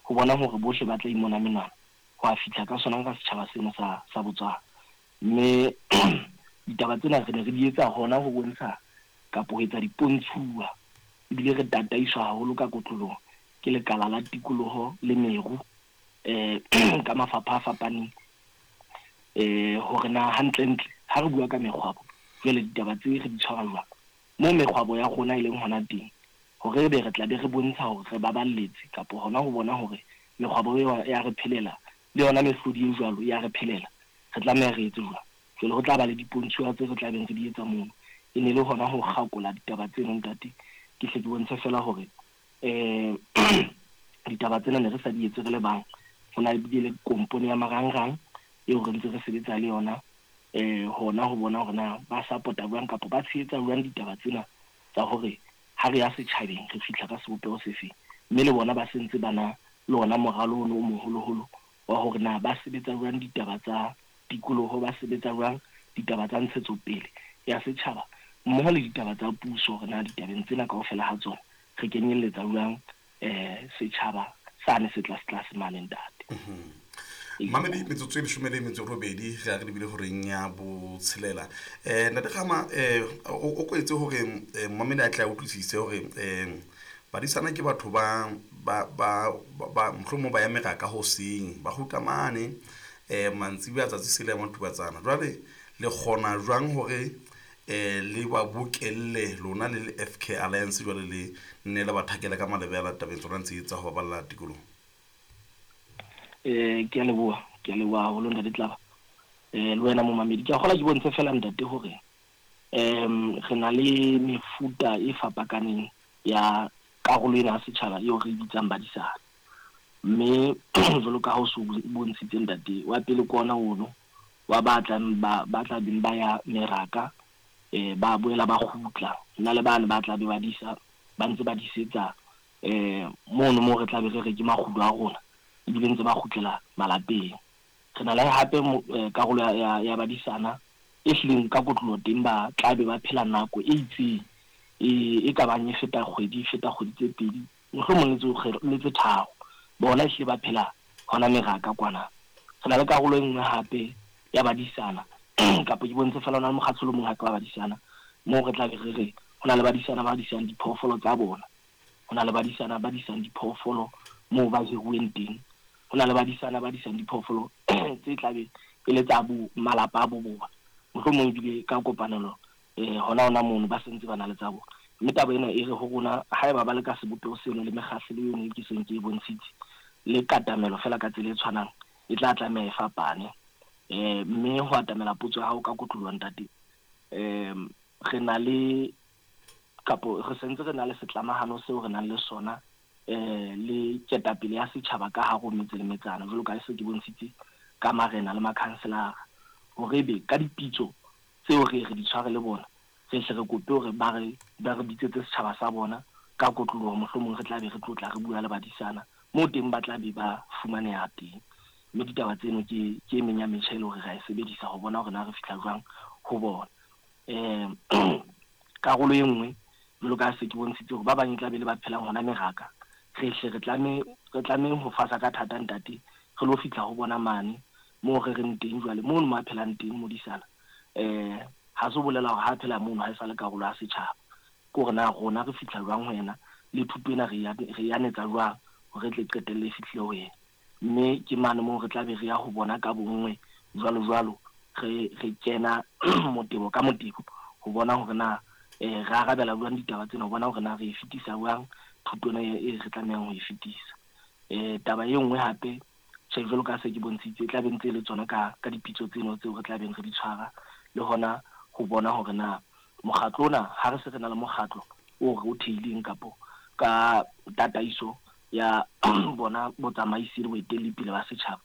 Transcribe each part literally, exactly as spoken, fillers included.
ho bona hore bohle ba tla imona menwana ho a fihla ka sona ka setjhaba seno sa sa Botswana. Mme ditaba tsena re ne re di etsa hona ho bontsha kapo ho etsa dipontshuwa, ebile re tataiswa haholo ka kotloloho ke lekala la tikoloho le meru eh ka mafapha a fapaneng, eh hore na hantlentle ha re bua ka mekgwabo jwale ditaba tse re di tshwara jwang moo mekgwabo ya rona e leng hona teng, hore ebe re tla be re bontsha hore re baballetse kapo hona ho bona hore mekgwabo eo ya re phelela le yona mehlodi e jwalo ya re phelela, re tlameha re etse jwang. Jwale ho tla ba le dipontshuwa tse re tla beng re di etsa mono. E ne le hona ho kgakola ditaba tseno ntate, ke hle ke bontshe fela hore eh ditaba tsena ne re sa di etse re le bang. Ho na ebile le kompone ya marangrang eo re ntse re sebetsa le yona eh hona ho bona hore na ba support-a jwang kapa ba tshehetsa jwang ditaba tsena tsa hore ha re ya setjhabeng re fihla ka sebopeho sefeng. Mme le bona ba sentse ba na le ona moralo ono o moholoholo wa hore na ba sebetsa jwang ditaba tsa tikoloho, ba sebetsa jwang ditaba tsa ntshetsopele ya setjhaba mmoho le ditaba tsa puso, hore na ditabeng tsena kaofela ha tsona re kenyelletsa jwang eh setjhaba sane se tlase tlase mane ntate. Mamedi, metsotso e leshome le metso e robedi re a re lebile horeng ya botshelela. um Ntate Kgama, um o ko etse hore eh, momamedi a tle a utlwisise hore um badisana ke batho ba ba ba ba mohlomong ba ya meraka hoseng, ba kgutla mane um mantsibuya a tsatsi sele ya matubatsana. Jwale le kgona jwang hore um le ba bokelle lona le le F K Alliance jwale le nne le ba thakele ka malebela tabeng tsona ntse tsa ho baballa tikoloho? Eh ke a leboha, ke a leboha haholo ntate Tlaba. Eh le wena momamedi, ke a kgola ke bontshe fela ntate hore em re na le mefuta e fapakaneng ya karolo ena ya setjhaba eo re e bitsang badisana. Mme jwalo ka ha o so bontshitse ntate, wa pele ke ona ono wa ba tlang ba ba tla beng ba ya meraka, eh ba boela ba kgutla. Hona le bane ba tla be ba disa, ba ntse ba disetsa eh mono moo re tla be re re ke makgulo a rona, ebile ntse ba kgutlela malapeng. Re na le hape karolo ya ya badisana e hlileng ka kotloloho teng ba tla be ba phela nako e itseng e e ka bang e feta kgwedi, e feta kgwedi tse pedi, mohlomong le tse le tse tharo. Bona ehlile ba phela hona meraka kwana. Re na le karolo e nngwe hape ya badisana kapa ke bontshe fela hona le mokgatlo o mong hape wa badisana moo re tla be re re ho na le badisana ba disang diphoofolo tsa bona, ho na le badisana ba disang diphoofolo moo ba hiruweng teng, ho na le badisana ba disang diphoofolo tse tla be e le tsa bo malapa a bo bona, mohlomong ebile ka kopanelo eh hona hona mono ba sentse ba na le tsa bona. Mme taba ena e re ho rona haeba ba le ka sebopeho seno le mekgahlelo eno e ke seng ke e bontshitse le katamelo fela ka tsela e tshwanang e tla tlameha e fapane. Eh mme ho atamela potso ya hao ka kotloloho ntate, em re na le kapo re sentse re na le setlamahano seo re nang le sona eh le ketapele ya setjhaba ka hare ho metse le metsana, jwalo ka se ke bontshitse ka marena le makhanselara, hore ebe ka dipitso tseo re re di tshware le bona re hle re kope hore ba re ba re bitsetse setjhaba sa bona ka kotloloho, mohlomong re tla be re tlotla re bua le badisana moo teng ba tla be ba fumaneha teng. Mme ditaba tseno ke ke e meng ya metjha e le hore re a e sebedisa ho bona hore na re fihla jwang ho bona. Eh karolo e nngwe jwalo ka se ke bontshitse hore ba bang e tla be le ba phelang hona meraka, re hle re tlame re tlamehang ho fasa ka thata ntate, re lo fihla ho bona mane moo re reng teng jwale mono mo a phelang teng modisana. Eh ha se bolela hore ha phela mono ha e sa le karolo ya setjhaba, ke hore na rona re fihla jwang ho yena le thuto ena re ya re yanetsa jwang hore re tle qetelle e fihlile ho yena. Mme ke mane moo re tla be re ya ho bona ka bonngwe jwalo jwalo, re re kena motebo ka motebo ho bona hore na eh re arabela jwang ditaba tsena, ho bona hore na re e fetisa jwang thuto ena e re tlamehang ho e fetisa. Eh taba e nngwe hape tjhe jwalo ka se ke bontshitse e tla be ntse e le tsona ka ka dipitso tseno tseo re tla beng re di tshwara, le hona ho bona hore na mokgatlo ona ha re se re na le mokgatlo o re o theileng kapo ka tataiso ya bona botsamaisi le boetelli pele ba setjhaba,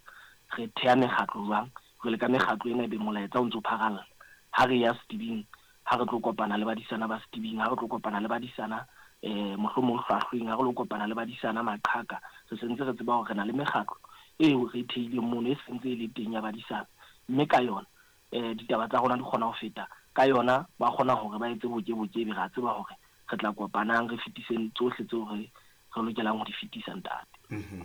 re theha mekgatlo jwang. Jwale ka mekgatlo ena ebe molaetsa o ntso pharalla ha re ya setibing, ha re tlo kopana le badisana ba setibing, ha re tlo kopana le badisana eh mohlomong hlwahlweng, ha re lo kopana le badisana maqhaka, re sentse re tseba hore re na le mekgatlo eo re theileng mono e sentse e le teng ya badisana, mme ka yona eh ditaba tsa rona di kgona ho feta ka yona, ba kgona hore ba etse boke-boke, ebe re a tseba hore re tla kopanang re fetiseng tsohle tseo re re lokelang ho di fetisa ntate. Mm-hmm.